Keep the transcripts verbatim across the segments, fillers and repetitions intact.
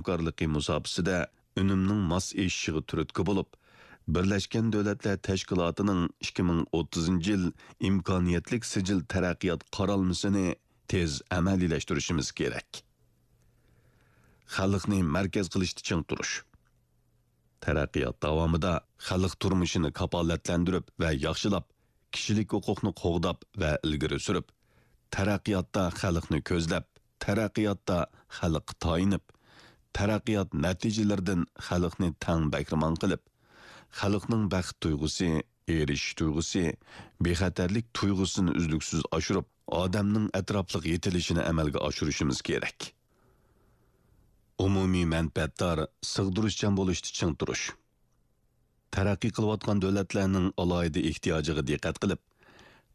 ھەمكارلىقى مۇساپىسىدە ئۈنۈمنىڭ ماس ئېشىشىغا تۈرتكە بولۇپ، بىرلەشكەن دۆلەتلەر تەشكىلاتىنىڭ ئىككى مىڭ ئوتتۇزىنچى يىل ئىمكانىيەتلىك سىجىل تەرەققىيات قارالمىسىنى تېز ئەمەلىيلەشتۈرۈشىمىز كېرەك. خەلقنى مەركەز قىلىشتا چىڭ تۇرۇش. تەرەققىيات داۋامىدا خەلق تۇرمۇشىنى كاپالەتلەندۈرۈپ ۋە ياخشىلاپ، كىشىلىك ھوقۇقنى قوغداپ ۋە ئىلگىرى سۈرۈپ، تەرەققىياتتا خەلقنى كۆزلەپ، تەرەققىياتتا خەلققە تايىنىپ، تەرەققىيات نەتىجىلىرىدىن خەلقنى تەڭ بەھرىمەن قىلىپ، خەلقنىڭ بەخت تۇيغۇسى، ئېرىشىش تۇيغۇسى، بىخەتەرلىك تۇيغۇسىنى ئۈزلۈكسىز ئاشۇرۇپ، ئادەمنىڭ ئەتراپلىق يېتىلىشىنى ئەمەلگە ئاشۇرۇشىمىز كېرەك. ئومۇمىي مەنپەئەتدار، سىغدۇرۇشچان بولۇشتا چىڭ تۇرۇش. تەرەققىي قىلىۋاتقان دۆلەتلەرنىڭ ئالاھىدە ئېھتىياجىغا دىققەت قىلىپ،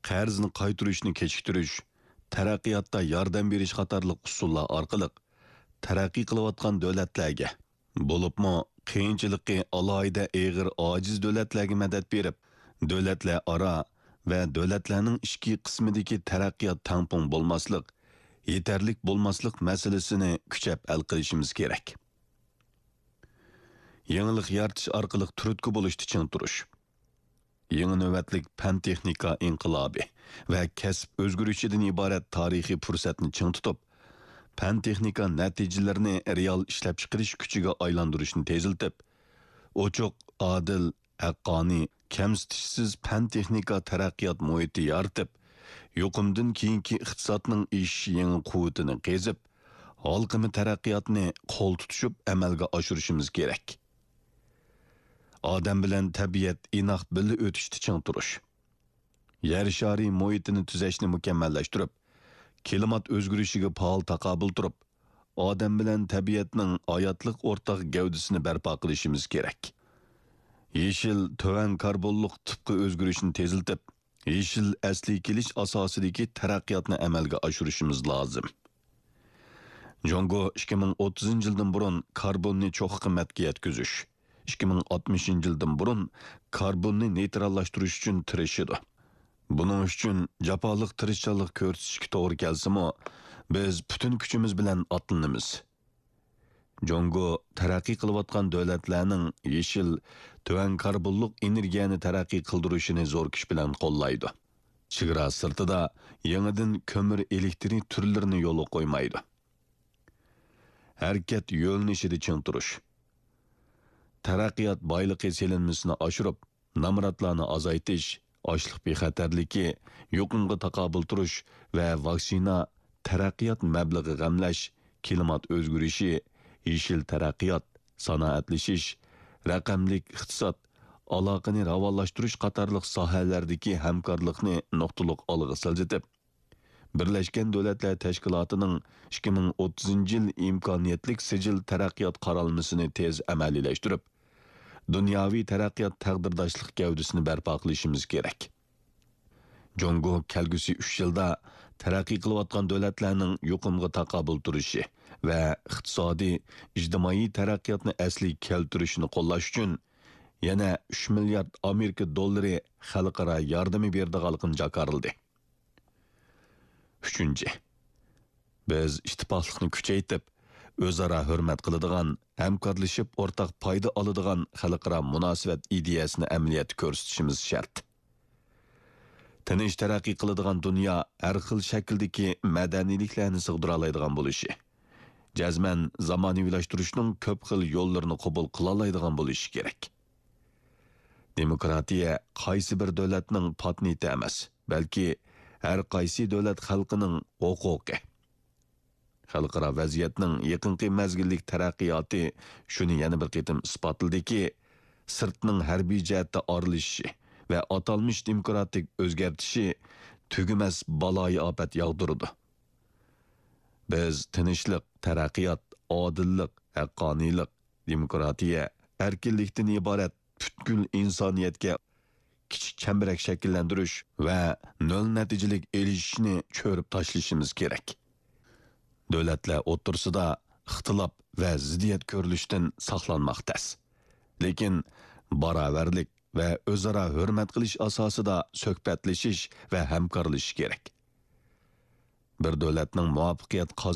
قەرزنى قايتۇرۇشنى كېچىكتۈرۈش، تەرەققىياتتا ياردەم بېرىش قاتارلىق ئۇسۇللار ئارقىلىق تەرەققىي قىلىۋاتقان دۆلەتلەرگە، بولۇپمۇ قىيىنچىلىقى ئالاھىدە ئېغىر ئاجىز دۆلەتلەرگە مەدەت بېرىپ، دۆلەتلەر ئارا ۋە دۆلەتلەرنىڭ ئىچكى قىسمىدىكى تەرەققىيات تەڭپۇڭ بولماسلىق، يېتەرلىك بولماسلىق مەسىلىسىنى كۈچەپ ھەل قىلىشىمىز كېرەك. يېڭىلىق يارىتىش ئارقىلىق تۈرتكە بولۇشتا چىڭ تۇرۇش. يېڭى نۆۋەتلىك پەن-تېخنىكا ئىنقىلابى ۋە كەسىپ ئۆزگىرىشىدىن ئىبارەت تارىخىي پۇرسەتنى چىڭ تۇتۇپ، پەن-تېخنىكا نەتىجىلىرىنى رېئال ئىشلەپچىقىرىش كۈچىگە ئايلاندۇرۇشنى تېزلىتىپ، ئوچۇق، ئادىل، ھەققانىي، كەمسىتىشسىز پەن-تېخنىكا تەرەققىيات مۇھىتى يارىتىپ، يۇقۇمدىن كېيىنكى ئىقتىسادنىڭ ئېشىش يېڭى قۇۋۋىتىنى قېزىپ، ھالقىما تەرەققىياتنى قول تۇتۇشۇپ ئەمەلگە ئاشۇرۇشىمىز كېرەك. ئادەم بىلەن تەبىئەت ئىناق بىللە ئۆتۈشتە چىڭ تۇرۇش. يەر شارى مۇھىتىنى تۈزەشنى مۇكەممەللەشتۈرۈپ، كىلىمات ئۆزگىرىشىگە پائال تاقابىل تۇرۇپ، ئادەم بىلەن تەبىئەتنىڭ ھاياتلىق ئورتاق گەۋدىسىنى بەرپا قىلىشىمىز كېرەك. يېشىل، تۆۋەن كاربونلۇق تىپقا ئۆزگىرىشنى تېزلىتىپ، يېشىل ئەسلىگە كېلىش ئاساسىدىكى تەرەققىياتنى ئەمەلگە ئاشۇرۇشىمىز لازىم. جۇڭگو ئىككى مىڭ ئوتتۇزىنچى يىلدىن بۇرۇن كاربوننى چوققا قىممەتكە يەتكۈزۈش، ئىككى مىڭ ئاتمىشىنچى يىلدىن بۇرۇن كاربوننى نېيتراللاشتۇرۇش ئۈچۈن تىرىشىدۇ. بۇنىڭ ئۈچۈن جاپالىق تىرىشچانلىق كۆرسىتىشكە توغرا كەلسىمۇ، بىز پۈتۈن كۈچىمىز بىلەن ئاتلىنىمىز. جۇڭگو تەرەققىي قىلىۋاتقان دۆلەتلەرنىڭ يېشىل، تۆۋەن كاربونلۇق ئېنېرگىيەنى تەرەققىي قىلدۇرۇشىنى زور كۈچ بىلەن قوللايدۇ. چېگرا سىرتىدا يېڭىدىن كۆمۈر ئېلېكترىك تۈرلىرىنى يولغا قويمايدۇ. ھەرىكەت يۆنىلىشىدە چىڭ تۇرۇش. تەرەققىيات بايلىقى سېلىنمىسىنى ئاشۇرۇپ، نامراتلارنى ئازايتىش، ئاشلىق بىخەتەرلىكى، يۇقۇمغا تاقابىل تۇرۇش ۋە ۋاكسىنا، تەرەققىيات مەبلىغى غەملەش، كىلىمات ئۆزگىرىشى، يېشىل تەرەققىيات، سانائەتلىشىش، رەقەملىك ئىقتىساد، ئالاقىنى راۋانلاشتۇرۇش قاتارلىق ساھەلەردىكى ھەمكارلىقنى نۇقتىلىق ئالغا سىلجىتىپ، بىرلەشكەن دۆلەتلەر تەشكىلاتىنىڭ ئىككى مىڭ ئوتتۇزىنچى يىل ئىمكانىيەتلىك سىجىل تەرەققىيات قارالمىسىنى تېز ئەمەلىيلەشتۈرۈپ، دۇنياۋى تەرەققىيات تەقدىرداشلىق گەۋدىسىنى بەرپا قىلىشىمىز كېرەك. جۇڭگو كەلگۈسى ئۈچ يىلدا تەرەققىي قىلىۋاتقان دۆلەتلەرنىڭ يۇقۇمغا تاقابىل تۇرۇشى ۋە ئىقتىسادىي، ئىجتىمائىي تەرەققىياتنى ئەسلىگە كەلتۈرۈشىنى قوللاش ئۈچۈن يەنە ئۈچ مىليارد ئامېرىكا دوللىرى خەلقئارا ياردىمى بېرىدىغانلىقىنى جاكارلىدى. ئۈچىنچى، بىز ئىتتىپاقلىقنى كۈچەيتىپ، ئۆزئارا ھۆرمەت قىلىدىغان، ھەمكارلىشىپ ئورتاق پايدا ئالىدىغان خەلقئارا مۇناسىۋەت ئىدىيەسىنى ئەمەلىيەتتە كۆرسىتىشىمىز شەرت. تىنچ تەرەققىي قىلىدىغان دۇنيا ھەر خىل شەكىلدىكى مەدەنىيلىكلەرنى سىغدۇرالايدىغان بولۇشى، جەزمەن زامانىۋىلاشتۇرۇشنىڭ كۆپ خىل يوللىرىنى قوبۇل قىلالايدىغان بولۇشى كېرەك. دېموكراتىيە قايسى بىر دۆلەتنىڭ پاتېنتى ئەمەس، بەلكى ھەر قايسى دۆلەت خەلقىنىڭ ھوقۇقى. خەلقئارا ۋەزىيەتنىڭ يېقىنقى مەزگىللىك تەرەققىياتى شۇنى يەنە بىر قېتىم ئىسپاتلىدىكى، سىرتنىڭ ھەربىي جەھەتتە ئارىلىشىشى ۋە ئاتالمىش دېموكراتىك ئۆزگەرتىشى تۈگىمەس بالايىئاپەت ياغدۇرىدۇ. بىز تىنچلىق، تەرەققىيات، ئادىللىق، ھەققانىيلىق، دېموكراتىيە، ئەركىنلىكتىن ئىبارەت پۈتكۈل ئىنسانىيەتكە كىچىك چەمبىرەك شەكىللەندۈرۈش ۋە نۆل نەتىجىلىك ئېلىشىشنى چۆرۈپ تاشلىشىمىز كېرەك. دۆلەتلەر ئوتتۇرىسىدا ئىختىلاپ ۋە زىددىيەت كۆرۈلۈشتىن ساقلانماق تەس. لېكىن باراۋەرلىك ۋە ئۆزئارا ھۆرمەت قىلىش ئاساسىدا سۆھبەتلىشىش ۋە ھەمكارلىشىش كېرەك. بىر دۆلەتنىڭ مۇۋەپپەقىيەت قازىنىشى